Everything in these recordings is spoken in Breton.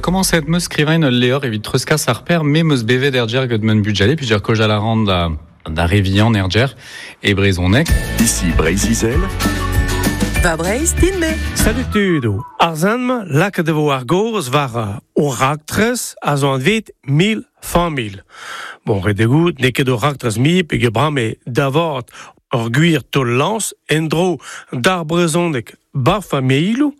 Komañset 'meus skrivañ ul levr evit treuzkas ar per me 'meus bevet er gêr gant man bugale peogwir kaozeal a ran da da re vihan er gêr e brezhoneg. Ici Breizh-Izel. Va Breizh din-me. Salut tudoù. Ar sent-mañ lakaet e vo ar gaoz war o raktres a zo anvet mil familh. Bon, ret eo goût n'eo ket ur raktres mui peogwir bremañ da vat ur gwir taol-lañs en-dro d'ar brezhoneg 'bar familhoù.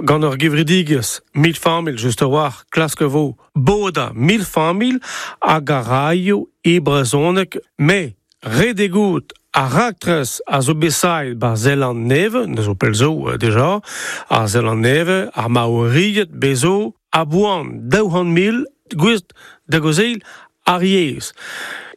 Gant ur gevredigezh mil familh just a-walc'h klask e vo bodañ mil familh hag a raio e brezhoneg met ret eo goût ar raktres a zo bet savet 'ba Zeland-Nevez, ne zo pell zo deja, ar Zeland-Nevez, ar Maoried bez zo a-boan 200 000 gouest da gaozeal ar yezh.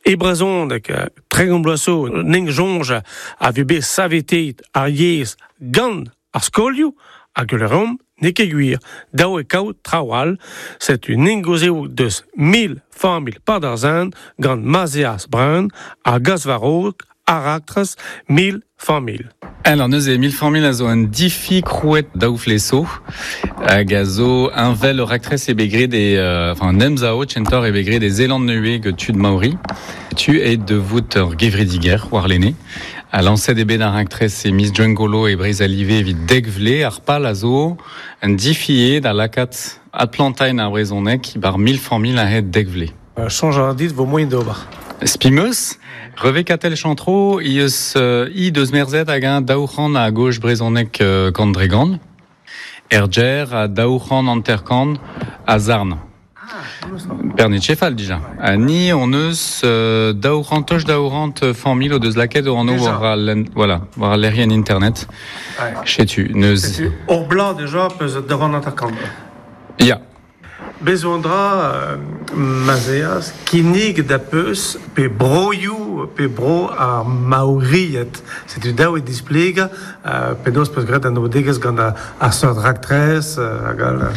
E brezhoneg, 30 bloaz zo, n'en soñj a vez bet saveteet ar yezh gant ar skolioù hag ul reomp n'eo ket gwir. Dav eo kaout traoù all. Setu n'en gaozeo deus mil familh Padarzen gant Mazeas Brun ha gas war-raok ar raktres mil familh. Alors neuze mil familh a zo un difi krouet daou vlez zo hag a zo heñvel ur raktres eo bet graet e enfin un emsav kentoc'h eo bet graet e Zeland-Nevez gant tud Maori. Tu eo da vout ur gevredigezh warlene. Ha lañset eo bet ar raktres e miz Gwengolo e Breizh a live evit dek vlez. Ar pal a zo un difi eo da lakaat adplantañ ar brezhoneg bar mil familh a-hed dek vlez. Soñj a ra dit vo moaien d'ober. Spi 'meus, Reve Katell Chantreau he eus he deus merzet hag-eñ 200 a goj brezhoneg kant dre gant. Er gêr ha 250 a zarn. Pernit-Chefal dija. Ha ni hon eus 200 toch 200 familh o deus lakaet o anv war al voilà, war al lec'hienn internet. Setu neus. Setu ur bloaz deja peus 250. Ya. Bez zo un dra ma'z eas kinniget da peus pe broioù pe bro ar Maoried. Setu dav eo displegañ penaos peus graet anaoudegezh gant ar seurt raktres hag all.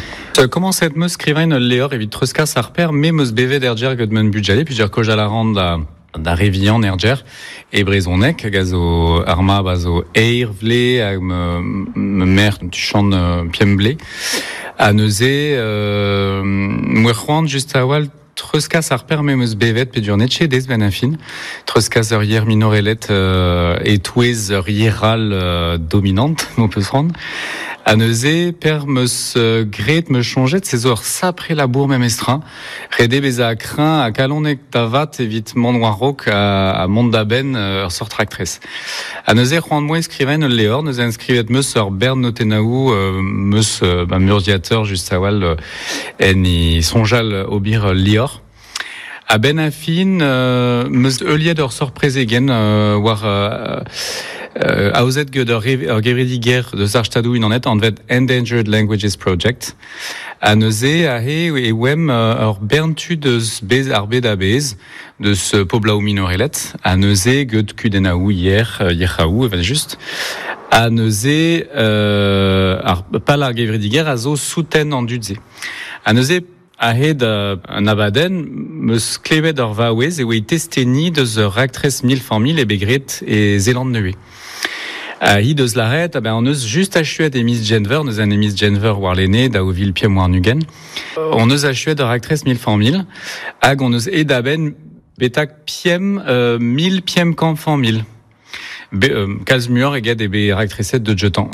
Komañset 'meus skrivañ ul levr evit treuzkas ar per me 'meus bevet er gêr gant man bugale peogwir kaozeal a ran da da re vihan er gêr e brezhoneg hag a zo ar mab a zo eir vlez hag ma merc'h tuchant pemp vlez ha neuze 'moa c'hoant just a-walc'h treuzkas ar per me'm eus bevet peogwir n'eo ket aes 'benn ar fin treuzkas ur yer minorelet e-touez ur yer all dominant m'ho peus c'hoant ha neuze per 'm eus graet 'm eus soñjet se zo ur sapre labour memestra. Ret eo bezañ kreñv ha kalonek da vat evit mont war-raok ha mont da benn ur seurt raktres. Ha neuze c'hoant 'moa skrivañ ul levr, neuze enskrivet 'meus ur bern notennaoù 'meus ma urzhiateur just a-walc'h en e soñjal ober ul levr. A-benn ar fin 'meus heuliet ur seurt prezegenn war aozet gant ur gevredigezh deus ar Stadoù-Unanet anvet Endangered Languages Project. Ha neuze aze e oemp ur bern tud eus bez ar bed a-bezh, deus poblaoù minorelet, ha neuze get kudennaoù yer, yerc'haoù evel-just. Ha neuze ar pal ar gevredigezh a zo souten an dud-se. Ha neuze a-hed an abadenn 'm eus klevet ur vaouez e oa testeni deus ur raktres mil familh e bet graet e Zeland-Nevez. Hi deus lâret, ah ben on eus just achuet e miz Genver, neuze en e miz Genver warlene, 2025. On eus achuet ur raktres mil familh, hag on eus aet a-benn betak pemp mil pemp kant familh. Be, kalz muioc'h eget eo bet raktreset deus jetañ.